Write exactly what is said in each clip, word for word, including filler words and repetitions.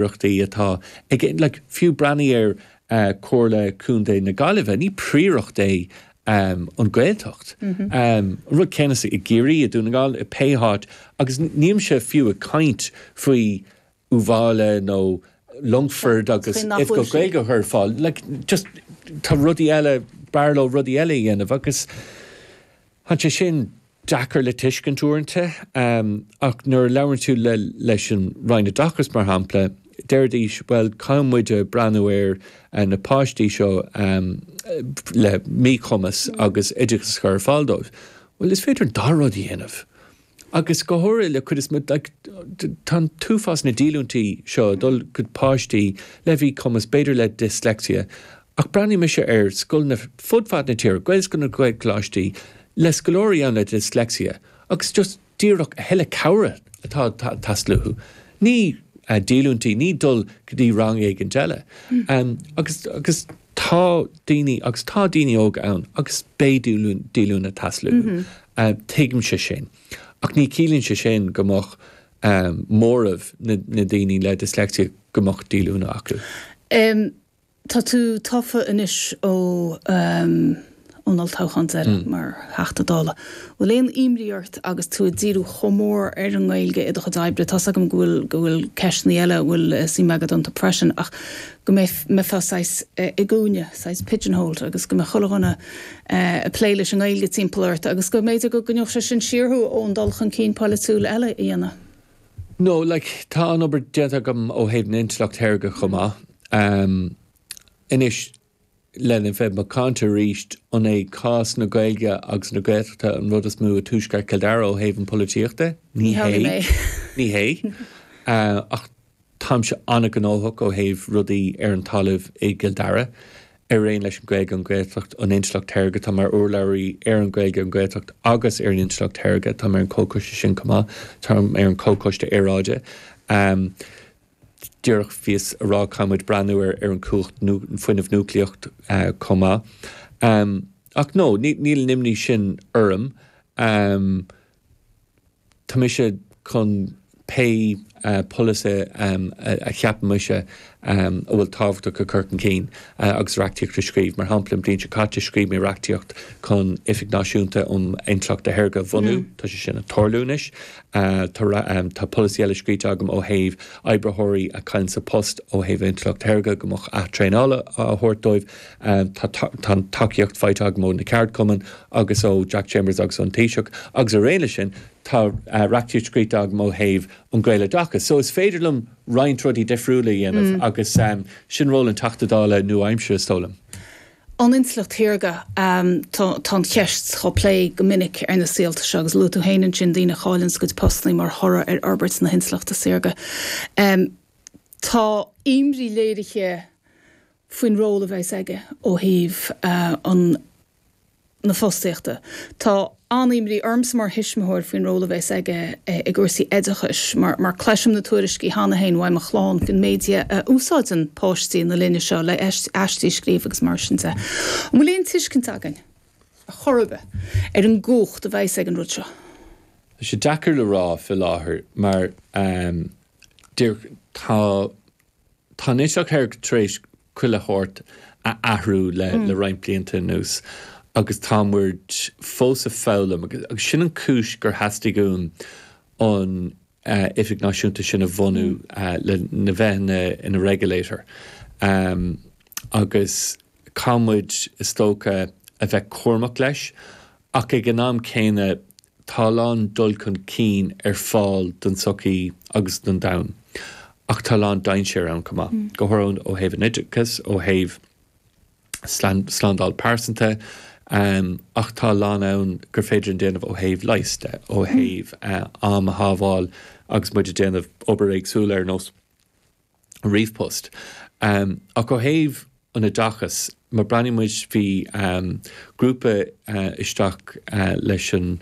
Príoireachtaí atá ag, like, fiú breathnaigh ar uh, Comhairle Contae na Gaillimhe, ní príoireacht é um, an Gaeltacht. Mm -hmm. um, rud céanna i gCiarraí, i Dún na nGall, i pé háit, agus nílimse fiú ag caint faoi Uíbh Fhailí nó Longford agus if go Gaeilge ar fáil, like, just tá rudaí eile, b'fhearr leo rudaí eile a dhéanamh agus tá sé sin deacair le tuiscint uaireanta, um, ach nuair a labhrann tú le, leis an Roinn Oideachais, mar shampla, deiridís, well, caithfidh muid breathnú ar uh, na páistí seo um, le míchumas mm. agus oideachas a chur ar fáil dóibh. Well, is féidir an dá rud a dhéanamh. Agus go háirithe le cuid is like, tá tuilleadh na díolúintí seo dul go páistí le míchumas, b'fhéidir le dyslexia, ach breathnaigh mise ar scoileanna fud fad na tíre, Gaelscoileanna, Gaelcholáistí, le scoláirí ann le dyslexia, agus just díreach a thuilleadh cabhrach atá teastáil uathu. Ní uh, díolúintí, ní dul go dtí rang éigin eile. Mm. Um, agus, agus tá daoine agus tá daoine óga ann agus beidh díolúine ag teastáil mm -hmm. uh, tuigimse sin. Ach ní chiallaíonn sé sin go mbeadh um, móramh na, na daoine le dyslexia go mbeadh díolúine acu. Um, tá tú tofa anois ó um, ón olltoghchán deiridh mm. mar Theachta Dála. Bhfuil aon imní ort agus tú ag díriú chomh mór ar an nGaeilge i do chuid oibre, Tá agam go bhfuil go bhfuil ceisteanna eile bhfuil suim agat iontu freisin, ach go mbeifeá saghas i gcúinne, saghas pigeonhole, agus go mbeadh chuile dhuine ag plé leis an nGaeilge timpeall ort agus go mb'fhéidir go gcoinneodh sé sin siar thú ón dul chun cinn polaitiúil eile a dhéanamh. No, like, tá an obair déanta agam ó thaobh na intleacht shaorga chomh maith. Um, Anois, lena bheith macánta arís, an é cás na Gaeilge agus na Gaeltachta an rud is mó i dtuaisceart Chill Dara ó thaobh an polaitíochta? Ní hé. Ní hé. Uh, ach táimse an-ghnóthach ó thaobh rudaí ar an talamh i gCill Dara. Ar aon leis an Ghaeilge, an Ghaeltacht, an intleacht shaorga, tá mar urlabhraí ar an Ghaeilge, an Ghaeltacht agus ar an intleacht shaorga, tá ar an comhchoiste sin chomh maith, tá ar an comhchoiste aeráide. Um, Díreach bhíos ag rá caithfimid breathnú ar ar an cumhacht fuinneamh núicléach uh, chomh maith. Um, ach no, níl an imní sin orm. Um, tá mise chun pé uh, polasaí um, a, a cheapann mise um, a bhfuil tábhachtach a chur chun cinn uh, agus reachtaíocht a scríobh. Mar shampla, an bhliain seo caite scríobh mé reachtaíocht chun Oifig Náisiúnta um Intleacht Shaorga a bhunú, mm. Tá sé sin ag tarlú anois. Uh, tá, um, tá polasaí eile scríte agam ó thaobh oibritheoirí a chailleann a bpost ó thaobh intleacht shaorga go mbeadh ath-traenáil á thabhairt dóibh. Um, tá, tá tacaíocht faighte agam ó na ceardchumainn agus ó Jack Chambers agus ón Taoiseach agus ar aon leis sin tá uh, reachtaíocht scríte agam ó thaobh an Ghaeloideachas. So is féidir liom roinnt rudaí difriúla a dhéanamh mm. agus um, sin ról an Teachta Dála nua-aimseartha, is dóigh liom. An intleacht shaorga, um, tá an cheist á plé go minic ar na saolta seo agus luaigh tú féin ansin daoine a chailleann a gcuid postanna mar thoradh ar fhorbairt na hintleachta saorga. Um, tá imní léirithe faoin ról a bheas aige ó thaobh uh, an na fostaíochta. Tá an-imní ormsa mar thuismitheoir faoin ról a bheas aige i gcúrsaí oideachais, mar, mar cloisim na tuairiscí cheana féin ó mo chlann faoin méid a úsáideann páistí na linne seo le aistí a scríobh agus mar sin de. An bhfuil aon tuiscint againn a chorbe ar an gcumhacht a bheas ag an rud seo? Tá sé deacair le rá faoi láthair mar um, tá tá an intleacht shaorga tar éis chuile shórt a athrú le, mm. le roinnt blianta anuas agus tá muid fós ag foghlaim agus sin an chúis gur theastaigh uaim an uh, Oifig Náisiúnta sin a bhunú uh, le na bheith ina, ina regulator. Um, agus caithfimid, is dócha, a bheith cúramach leis, ach ag an am céanna tá a lán dul chun cinn ar fáil don tsochaí agus don domhan. Ach tá a lán dainséar ann chomh maith. Mm. Go háirithe ó thaobh an oideachais, ó thaobh slándáil pearsanta, um, ach tá a lán ann gur féidir an déanamh ó thaobh leighis de, ó thaobh uh, am a shábháil agus muid ag déanamh obair éagsúla ar nós ríomhphost. Um, ach ó thaobh an oideachais, má breathnaíonn muid, bhí um, grúpa uh, isteach uh, leis an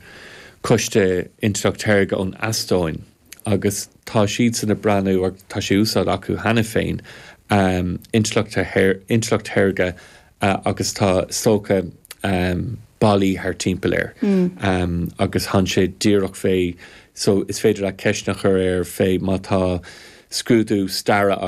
Coiste Intleacht Shaorga ón Eastóin agus tá siad san ag breathnú, tá sé úsáid acu cheana féin, um, intleacht intleacht shaorga uh, agus tá sócha um, ballaí thar timpeall air mm. um, agus tá sé díreach fé, so is féidir le ceist a chur air fé má tá scrúdú staire.